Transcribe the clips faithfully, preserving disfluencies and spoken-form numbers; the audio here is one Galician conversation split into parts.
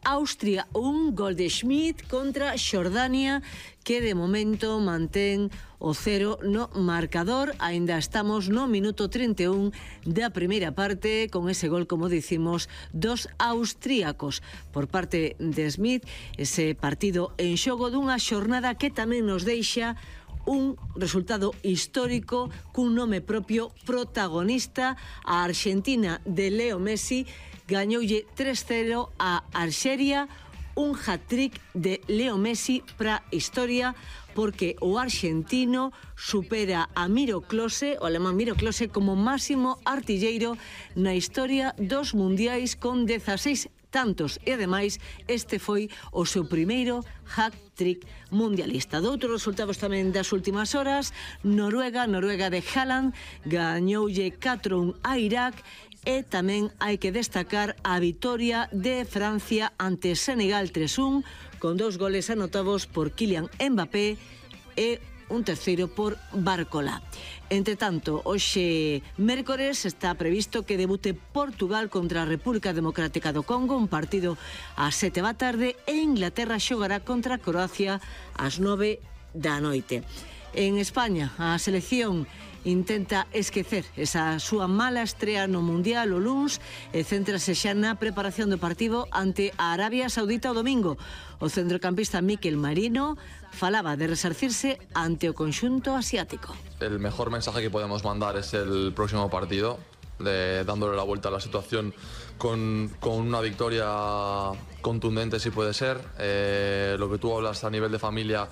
Austria un, gol de Schmidt contra Xordania, que de momento mantén o cero no marcador. Aínda estamos no minuto trinta e un da primeira parte, con ese gol, como dicimos, dos austríacos. Por parte de Schmidt, ese partido en xogo dunha xornada que tamén nos deixa un resultado histórico cun nome propio protagonista. A Argentina de Leo Messi gañoulle tres cero a Alxeria, un hat-trick de Leo Messi para a historia, porque o argentino supera a Miro Klose, o alemán Miro Klose, como máximo artilleiro na historia dos mundiais con dezaseis tantos, e ademais este foi o seu primeiro hat-trick mundialista. Doutros resultados tamén das últimas horas: Noruega, Noruega de Haaland gañoulle catro un a Irak, e tamén hai que destacar a vitoria de Francia ante Senegal tres un, con dous goles anotados por Kylian Mbappé e un terceiro por Barcola. Entre tanto, hoxe mércores está previsto que debute Portugal contra a República Democrática do Congo, un partido ás sete da tarde, e Inglaterra xogará contra Croacia ás nove da noite. En España, a selección intenta esquecer esa súa mala estrea no Mundial o luns e céntrase xa na preparación do partido ante a Arabia Saudita o domingo. O centrocampista Mikel Merino falaba de resarcirse ante o conxunto asiático. El mejor mensaje que podemos mandar es el próximo partido, de, dándole la vuelta a la situación con, con una victoria contundente, si puede ser. Eh, lo que tú hablas a nivel de familia,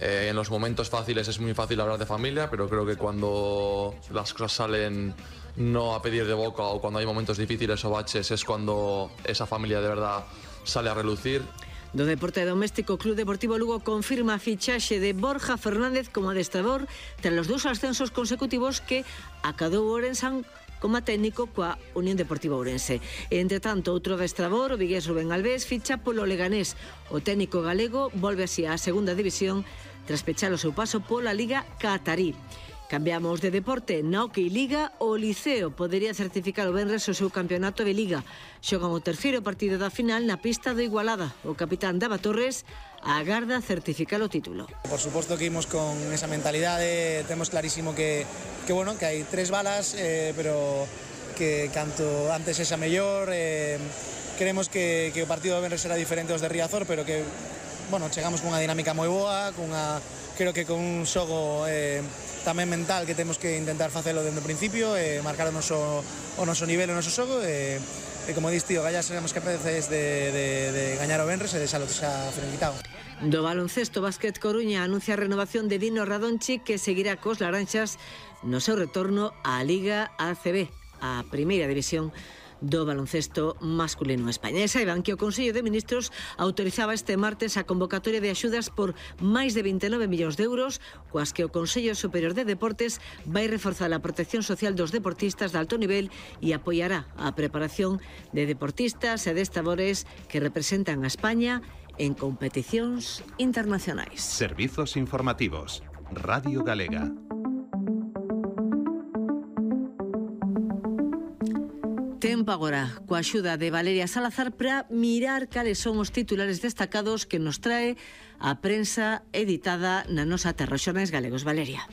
Eh, en los momentos fáciles es muy fácil hablar de familia, pero creo que cuando las cosas salen no a pedir de boca, o cuando hay momentos difíciles o baches, es cuando esa familia de verdad sale a relucir. Do deporte doméstico, Club Deportivo Lugo confirma a fichaxe de Borja Fernández como adestrador tras os dous ascensos consecutivos que acadou Orensan como técnico coa Unión Deportiva Ourense. Entre tanto, outro adestrador, o vigués Rubén Alves, ficha polo Leganés. O técnico galego volve así á segunda división tras pechar o seu paso pola Liga Qatarí. Cambiamos de deporte. Na Hockey Liga, o Liceo podería certificar o venres o seu campeonato de Liga. Xogan o terceiro partido da final na pista do Igualada. O capitán Dava Torres agarda certificar o título. Por suposto que imos con esa mentalidade, temos clarísimo que, que, bueno, que hai tres balas, eh, pero que canto antes esa mellor. Eh, queremos que, que o partido do venres será diferente aos de Riazor, pero que, bueno, chegamos cunha dinámica moi boa, cunha, creo que con un xogo eh, tamén mental que temos que intentar facelo dende o principio, eh, marcar o noso, o noso nivel, o noso xogo, e, e como dis, tío, gallas seremos capaces de, de, de gañar o venres e deixalo xa finiquitado. Do baloncesto, Básquet Coruña anuncia a renovación de Dino Radonchi, que seguirá cos laranxas no seu retorno á Liga A C B, a primeira división do baloncesto masculino en España. E saiban que o Consello de Ministros autorizaba este martes a convocatoria de axudas por máis de vinte e nove millóns de euros, coas que o Consello Superior de Deportes vai reforzar a protección social dos deportistas de alto nivel e apoiará a preparación de deportistas e adestradores que representan a España en competicións internacionais. Servizos informativos. Radio Galega. Tempo agora, coa axuda de Valeria Salazar, para mirar cales son os titulares destacados que nos trae a prensa editada na nosa terra. Xornais Galegos. Valeria.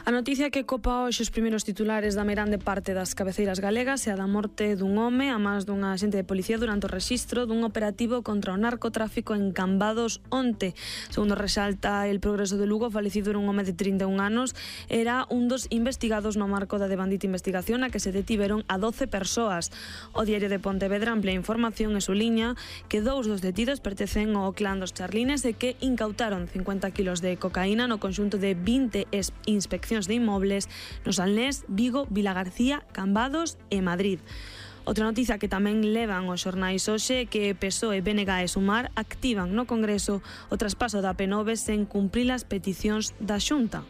A noticia que copa hoxe os primeiros titulares da meirande parte das cabeceiras galegas é a da morte dun home a mans dunha axente de policía durante o rexistro dun operativo contra o narcotráfico en Cambados onte. Segundo resalta El Progreso de Lugo, o falecido era un home de trinta e un anos, era un dos investigados no marco da devandita investigación a que se detiveron a doce persoas. O Diario de Pontevedra amplía información e suliña que dous dos detidos pertencen ao clan dos Charlines e que incautaron cincuenta kilos de cocaína no conxunto de vinte inspeccións de inmobles nos Salnés, Vigo, Vilagarcía, Cambados e Madrid. Outra noticia que tamén levan os xornais hoxe é que P S O E, B N G e Sumar activan no Congreso o traspaso da P nove sen cumprir as peticións da Xunta.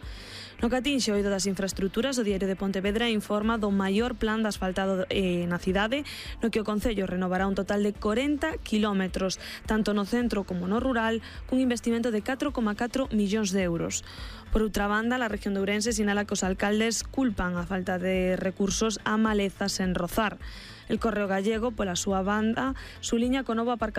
No que atinxe o eido das infraestructuras, o Diario de Pontevedra informa do maior plan de asfaltado eh, na cidade, no que o Concello renovará un total de corenta kilómetros, tanto no centro como no rural, cun investimento de catro coma catro millóns de euros. Por outra banda, a región de Ourense sinala que os alcaldes culpan a falta de recursos a malezas en Rozar. El Correo Gallego, pola súa banda, suliña co novo aparcamento